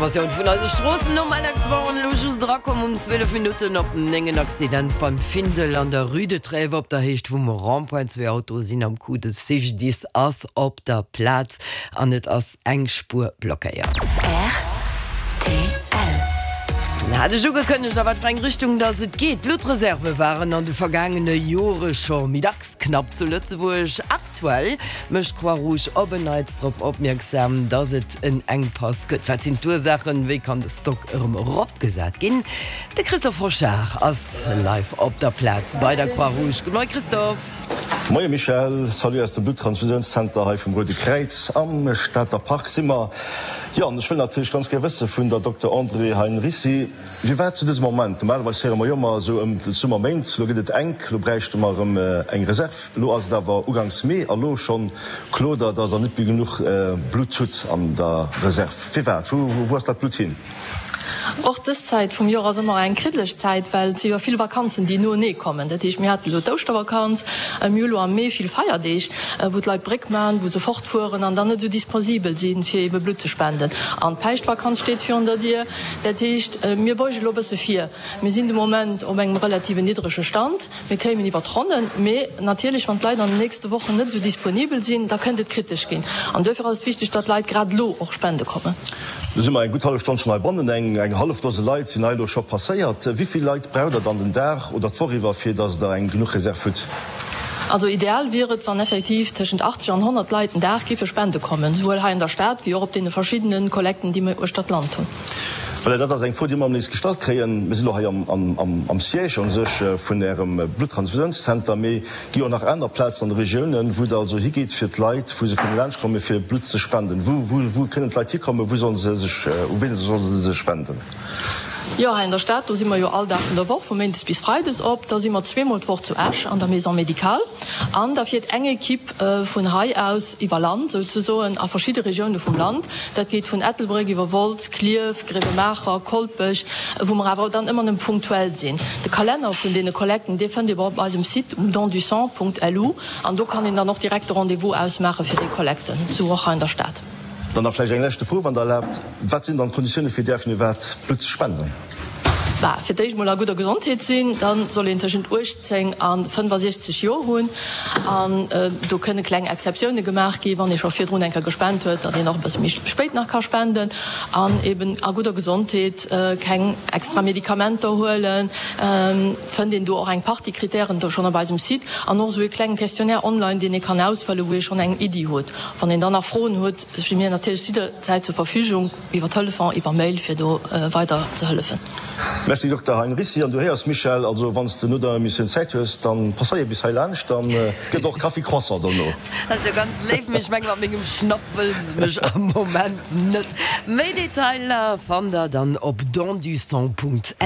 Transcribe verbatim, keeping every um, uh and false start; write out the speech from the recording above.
Versioun vun eise Stroossen nom Alex Warren elo just erakomm um zwielef Minutten op néng. En Accident beim Findel an der Rue de Trèves op der Héicht vum Rond-point. Zwee Autoe sinn am Coup, de C G D I S ass op der Plaz an et ass eng Spuer blockéiert. R T L. Hat ech ugekënnegt, a wat fir eng Richtung dass et geet. D'Bluttreserve waren an de vergaangene Jore scho méi dacks knapp zu Lëtzebuerg. Aktuell mécht d'Croix-Rouge op en Neits drop opmierksam, dass et en Enkpass gëtt. Wat sinn d'Ursaachen? Wéi kann de Stock erëm eropgesat ginn? De Christophe Hochard ass live op der Plaz bei der Croix-Rouge. Gudde Moie Christophe. Moie Michèle, salut aus dem Bluttransfusiounszenter hei vum Roude Kräiz. Am Stater Park si mer. Jo, an ech wëll natierlech ganz gär wësse vun der Dokter Andrée Heinricy, firwat zu dësem Moment, normalerweis héiere mer jo ëmmer esou ëm d'Summerméint, elo gëtt et enk, elo bräichte mer erëm eng Reserv, elo ass et awer uganks Mee a lo schonn klot Der, datt Der net méi genuch Blutt hutt an der Reserv. Firwat? Wou ass dat Blutt hin? Och dës Zäit vum Joer ass ëmmer eng kriddeleg Zäit, well et si jo vill Vakanzen, déi noenee kommen. Dat heescht, mir haten elo d'Ouschtervakanz, mir hu elo am Mee vill Feierdeeg, wou d'Leit Bréck maachen, wou se fortfueren an dann net esou disposibel sinn, fir ebe Blutt ze spenden. An d'Päischtvakanz steet virun der Dier. Dat heescht, mir beuge elo e bësse vir. Mir sinn de Moment op engem relativen niddrege Stand. Mir kéimen iwwer d'Ronnen, mee natierlech, wann d'Leit an den nächste Wochen net esou disponibel sinn, da kënnt et kritesch ginn. An duerfir ass et wichteg, datt d'Leit grad elo och spende kommen. Lo si mer eng gutt hallef Stonn schonn heibannen. Eng eng hallef Dose Leit sinn hei elo scho passéiert. Wéi vill Leit braucht Der dann den Dag oder d'Woch iwwer, fir datt Der eng genuch Reserv hutt? Also ideal wier et, wann effektiv tëschent achtzeg an honnert Leit den Dag géife spende kommen, souwuel hei an der Stad wéi och op deene verschiddene Kollekten, déi mir uechter d'Land hunn. Voilà, dat ass eng Fro, déi mer ëmmer nees gestallt kréien. Mir sinn elo hei am Siège u sech vun Ärem Bluttransfusiounszenter, mee gi och nach aner Plazen an de Regiounen, wou Der also higeet, fir d'Leit, wou se kënne laanschtkommen, fir Blutt ze spenden. Wou kënnen d'Leit hikommen? Wou solle se sech, u wien solle se sech wenden? Jo, hei an der Stad, do si mer jo all Dag vun der Woch, vu méindes bis freides op. Da si mer zweemol d'Woch zu Esch an der Maison médicale an da fiert eng Ekipp vun hei aus iwwer Land souzesoen a verschidde Regioune vum Land. Dat geet vun Ettelbréck iwwer Wolz, Klierf, Gréiwemaacher, Kolpech, wou mer awer dann ëmmer nëmme punktuell sinn. De Kalenner vun deene Kollekten, dee fënnt ee op eisem Site um dondusang Punkt L U an do kann een dann och direkt de Rendez-vous ausmaache fir déi Kollekten, sou och hei an der Stad. Dann nach vläicht eng leschte Fro, wann Der erlaabt, Wat sinn dann d'Konditioune fir däerfen iwwerhaapt Blutt ze spenden? Bah, fir d'éischt mol a gudder Gesondheet sinn, da soll een tëschent uechtzéng a fënnfasiechzeg Joer hunn. An do kënne kleng Exceptioune gemaach ginn, wann ee scho virdrun eng Kéier gespent huet, datt een och e bësse méi spéit nach ka spenden. An eben a gudder Gesondheet, keng extra Medikamenter huelen. Fënnt een do och eng Partie Kritären do schonn op eisem Site an och esou e klenge Questionnaire online, deen ee kann ausfëllen, wou ee schonn eng Iddi huet. Wann een dann nach Froen huet, sti mir natierlech jidderzäit zur Verfügung, iwwer Telefon, iwwer Mail, fir do weider ze hëllefen. Merci Dokter Heinricy. An du héiers Michèle, also wann s de no der Emissioun Zäit hues, dann passéier bis hei laanscht, dann gëtt och Kaffi Croissant dono. Dat ass jo ganz léif, mee ech mengen mat mengem Schnapp wëllen se mech am Moment net. Méi Detailer fannt der dann op dondusang Punkt L U.